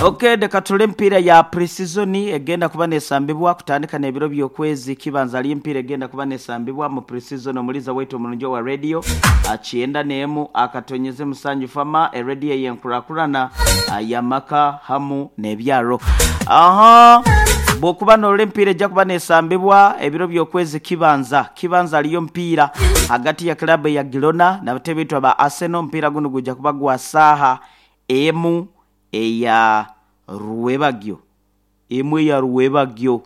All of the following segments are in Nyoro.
Okay, reka turore emipiira ya pre-season egenda kuba nesambibwa kutandika n'ebiro by'okwezi kibanza hariyo emipiira egenda kuba nesambibwa mu pre-season omuliza waitu omurungi owa radio kyenda n'emu akatonyeze musanju fama eradio ey'enkurakurana y'amaka hamu n'ebyaro. Aha bw'okuba norora emipiira ejja kuba nesambibwa ebiro by'okwezi kibanza kibanza hariyo omupiira hagati ya club eya Girona n'abatebe baitu aba Arsenal omupiira gunu gujja kuba gwa saaha emu eya rwebagyo emu eya rwebagyo.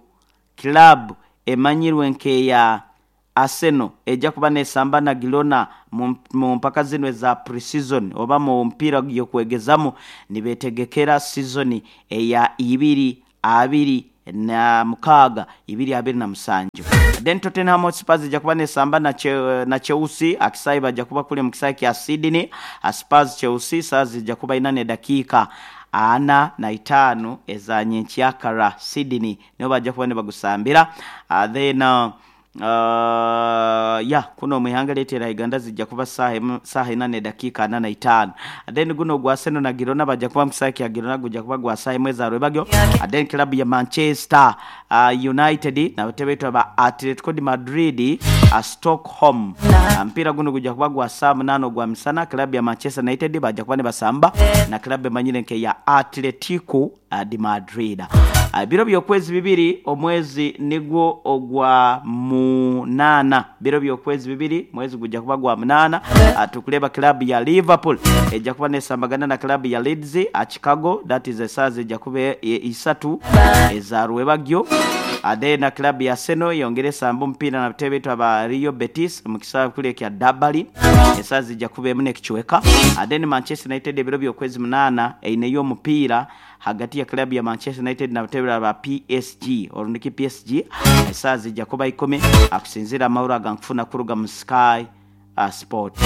Club emanyirwe nk'eya Arsenal ejja kuba nesamba na Girona mu mpaka zinu eza pre-season oba mu mpiira gy'okwegezamu nibetegekera sizoni eya ibiri abiri na mukaaga 2027. Then Tottenham Hotspurs ejja kuba nesamba na Chelsea akisaayi bajja kuba kuli mu kisaayi kya Sydney. Spurs Chelsea saaha zijja kuba ina n'edakiika ana na itaano eza nyenkyakara Sydney niho bajja kuba nibagusambira. Then ya kunu omu ihanga lyaitu erya Uganda zijja kuba saaha emu saaha ina n'edakiika ana na itaano. Then gunu ogwa Arsenal na Girona bajja kuba mu kisaayi kya Girona gujja kuba gwa saaha emu eza rwebagyo. Then club ya Manchester United n'abatebe baitu aba Atletico de Madrid Stockholm. Omupiira gunu gujja kuba gwa saaha munaana ogwa misana. Club ya Manchester United bajja kuba nibasamba na club emanyire nk'eya Atletico de Madrid. Biro by'okwezi bibiri omwezi nigwo ogwa munaana biro by'okwezi bibiri mwezi gujja kuba gwa munaana tukureeba club ya Liverpool ejja kuba nesambagana na club ya Leeds Chicago that is esaaha zijja kuba isatu eza rwebagyo. Then club ya Arsenal eyongere esambe omupiira n'abatebe baitu aba Real Betis omu kisaawe kuri ekya Dublin esaaha zijja kuba emu n'ekicweka. Then Manchester United ebiro by'okwezi munaana eineyo omupiira hagati ya club ya Manchester United n'abatebe ba PSG orundiki PSG esaaha zijja kuba ikumi akusinziira amahoro agankufuna kuruga mu Sky Sport.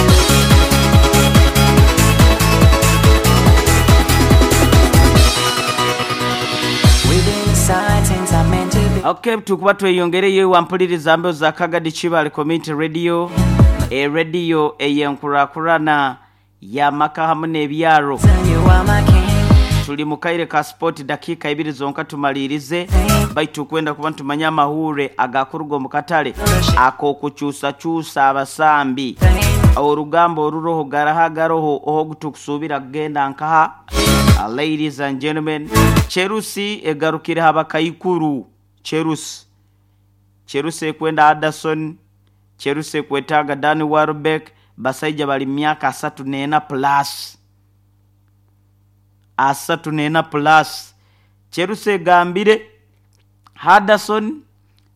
Okay, tukuba tweyongereyo wampuliriza mbeho za Kagadi Kibale Community Radio, eradio ey'enkurakurana y'amaka hamu n'ebyaro. Tuli mu kaire ka sport dakiika ibiri zonka tumaliirize baitu kwenda kuba nitumanya amahuure agakuruga omu katale ak'okukyusakyusa abasambi. Orugamba oruroho garaha garoho oho tukusuubira kugenda nkaha. Ladies and gentlemen, Chelsea egarukire abakaikuru. Chelsea Chelsea ekwenda Anderson, Chelsea ekwetaaga Danny Welbeck, basaija bali myaka asatu n'ena plus. Asatu n'ena plus. Chelsea egambire Henderson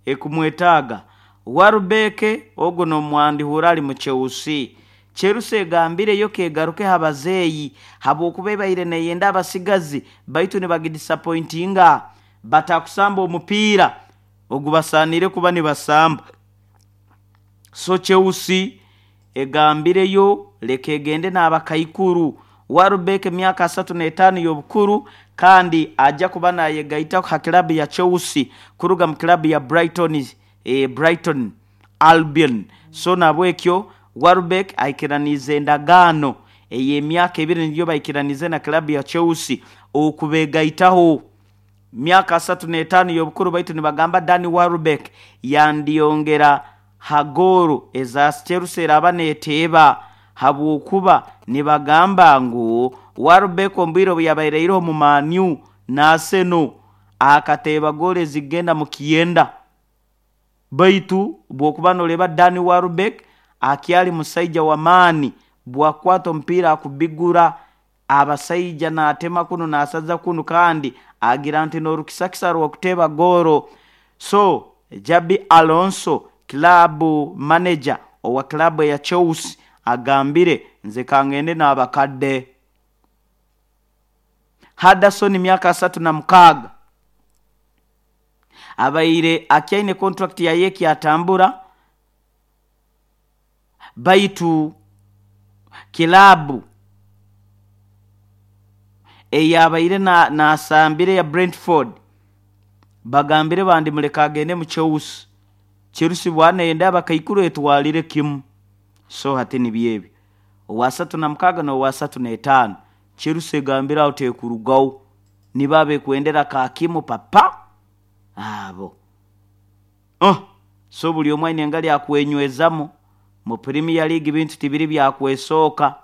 ekumwetaaga, Welbeck ogwo n'omwandihura ali mu Chelsea. Chelsea egambireyo kegaruke habazeeyi habwokuba ebaire neyenda abasigazi baitu nibagidisappointinga batakusamba omupiira ogubasaaniire kuba nibasamba. So Chelsea egambireyo leka egende n'abakaikuru. Welbeck emyaka asatu n'etaano y'obukuru kandi ajja kuba nayegaita ha club ya Chelsea kuruga mu club ya Brighton, Brighton Albion. So nabwekyo Welbeck aikiraniize endagaano ey'emyaka ebiri niyo baikiraniize na club ya Chelsea okubegaitaho. Myaka asatu n'etaano y'obukuru baitu nibagamba Danny Welbeck yandyongera ha goolo eza Chelsea eraba neeteeba habwokuba nibagamba ngu Welbeck omu bwire obu yabaire omu Man U na Arsenal akateeba goolo ezikugenda mu kyenda. Baitu bw'okuba noreeba Danny Welbeck akyali musaija w'amaani bwakukwata omupiira akubigura abasaija naatema kunu naasaza kunu kandi agira nti n'orukisakisa rw'okuteeba goolo. So Xabi Alonso club manager owa club eya Chelsea agambire nze kangende n'abakadde. Henderson myaka asatu na mukaaga abaire akyaine contract yaye ekyatambura baitu kilabu eyabaire nasambire ya Brentford bagambire bandi muleke agende mu Chelsea. Chelsea bwanayenda abakaikuru etwalire kimu. So hati nibyo ebyo owa asatu na mukaaga n'owa asatu n'etaano Chelsea egambire aho tekurugaho. Nibo abekwendera kakimu papa abo. Oh, so buli omwe aine engali akwenywezamu mu Premier League bintu tibiri byakwesooka.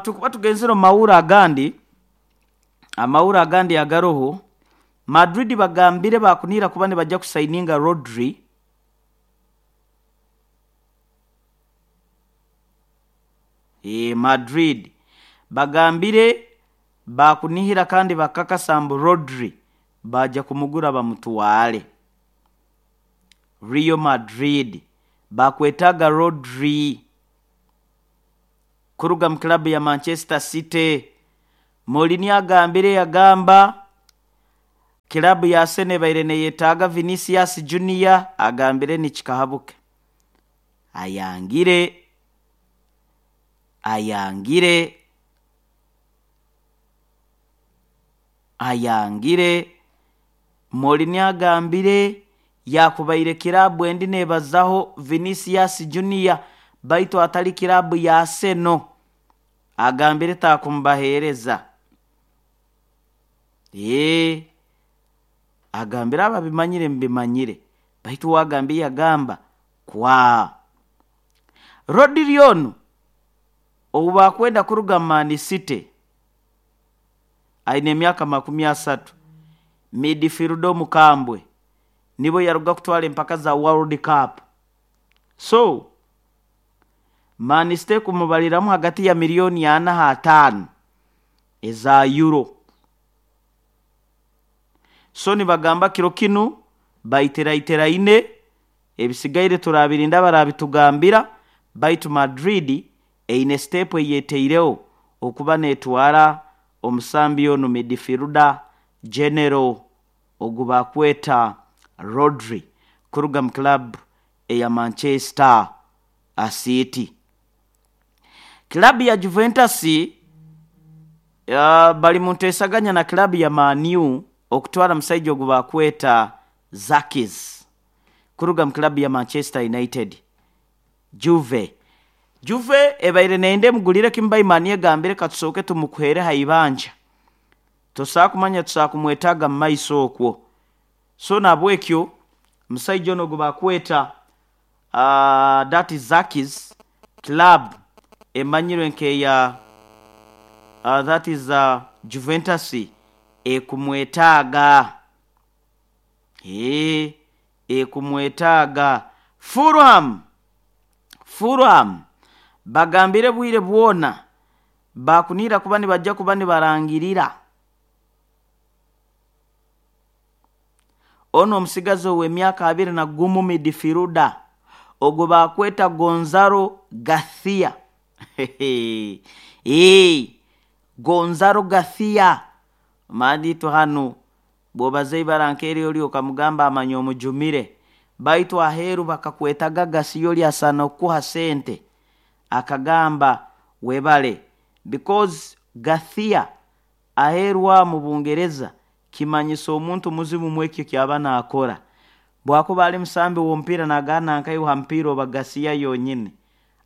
Tukuba tugenzere omu mawuro agandi, amawuro agandi agaroho Madrid bagambire bakunira kuba nibajja kusaininga Rodri. Madrid bagambire bakunihira kandi bakakasa mbu Rodri baja kumugura bamutwale. Real Madrid bakwetaga Rodri kuruga mu club ya Manchester City. Mourinho agambire yagamba club ya Arsenal ebaire neyetaaga Vinicius Junior, agambire nikikahabuke. Ayangire ayangire ayangire. Mourinho agambire yakubaire kirabu endi nebazaho Vinicius Junior baitu atali kirabu ya Arsenal, agambire takumbahereza. Agambire ababimanyire mbimanyire, baitu wagambiye yagamba kwa Rodri ono obu bakwenda kuruga Man City aine emyaka 30, midfielder omukambwe nibo yaruga kutwara empaka za World Cup. So Man City kumubaliramu hagati ya milioni 4 5 eza euro. So nibagamba kiro kinu baiteraiteraine, ebisigaire turabirinda barabitugambira, baitu Madrid eine step eyeteireho okuba netwara omusambi onu midfielder general ogu bakweta Rodri kuruga mu club eya Manchester City. Club ya Juventus bali mu ntesaganya na club ya Man U okutwara musaija ogu bakweta Zakis kuruga mu club ya Manchester United. Juve ebaire nende mugulire kimbai mani egambire katusooke tumukuhere haibanja, tosaa kumanya tusaa kumwetaaga mu maiso okwo. So nabwekyo musaija ono ogu bakweta that is Zakis club emanyirwe nkeya that is Juventus ekumwetaaga. Ekumwetaaga. Fulham bagambire bwire bwona bakunira kuba nibajja kuba nibarangirira ono omusigazi ow'emyaka 21 midfielder ogwo bakweta Gonzalo Garcia. Gonzalo Garcia manditu hanu bwobaza ibara nkeri oli okamugamba amanya omujumire, baitu aheru bakakwetaga Garcia oli asana okuha sente, akagamba webale, because Garcia aherwa mu Bungereza kimanyisa omuntu muzimu mwekyo kyaba nakora. Bwakuba ali musambi w'omupiira nagana nkaiha mpira oba Garcia yonyine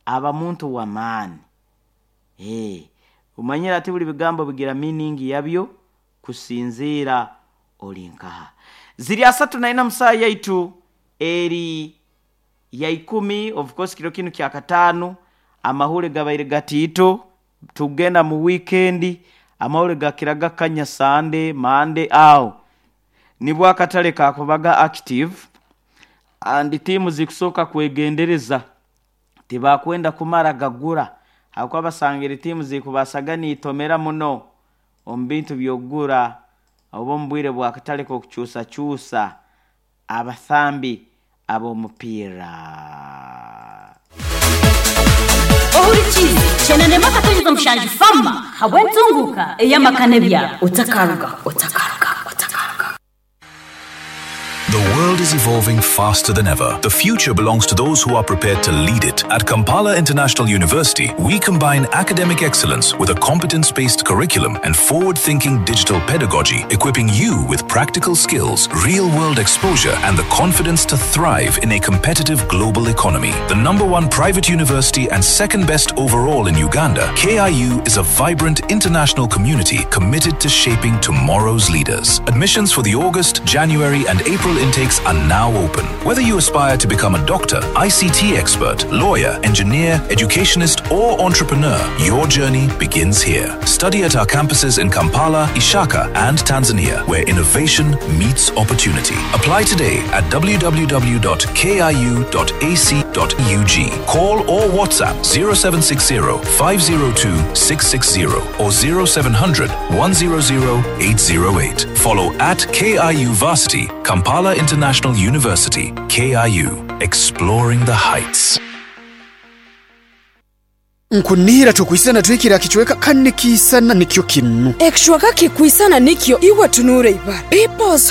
aba muntu wa maani. Umanyira ati buli bigambo bigira meaning yabyo kusinzira olinkaha. Ziri 34 musaa yaitu eri ya 10, of course kiro kinu kya katano, amahule gabaire gatito tugenda mu weekend, amahule gakiraga kanya Sunday Monday awo nibwo akatale kakubaga active and timu zikusoka kwegendereza tibakwenda kumara gagura, hakuba basangire timu zikubasaga nitomera muno omu bintu byogura oba omu bwire bwa katale k'okukyusakyusa abathambi ab'omupiira. Ohurikize chenenema katonyeza mushanju fama habwentunguka eyamakane bya otakaruga otakaruga otakaruga. The world is evolving faster than ever. The future belongs to those who are prepared to lead it. At Kampala International University, we combine academic excellence with a competence based curriculum and forward thinking digital pedagogy, equipping you with practical skills, real world exposure, and the confidence to thrive in a competitive global economy. The number one private university and second best overall in Uganda, KIU is a vibrant international community committed to shaping tomorrow's leaders. Admissions for the August, January, and April intakes are now open. Whether you aspire to become a doctor, ICT expert, lawyer, engineer, educationist, or entrepreneur, your journey begins here. Study at our campuses in Kampala, Ishaka, and Tanzania, where innovation meets opportunity. Apply today at www.kiu.ac.ug. Call or WhatsApp 0760 502 660 or 0700 100 808. Follow at KIU Varsity, Kampala International University, KIU, exploring the heights. Nkunihira tukwisana twikira kichweka kandi kisana nikyo kinu. Ekishwaka kikwisana nikyo iwe tunure ibara. People's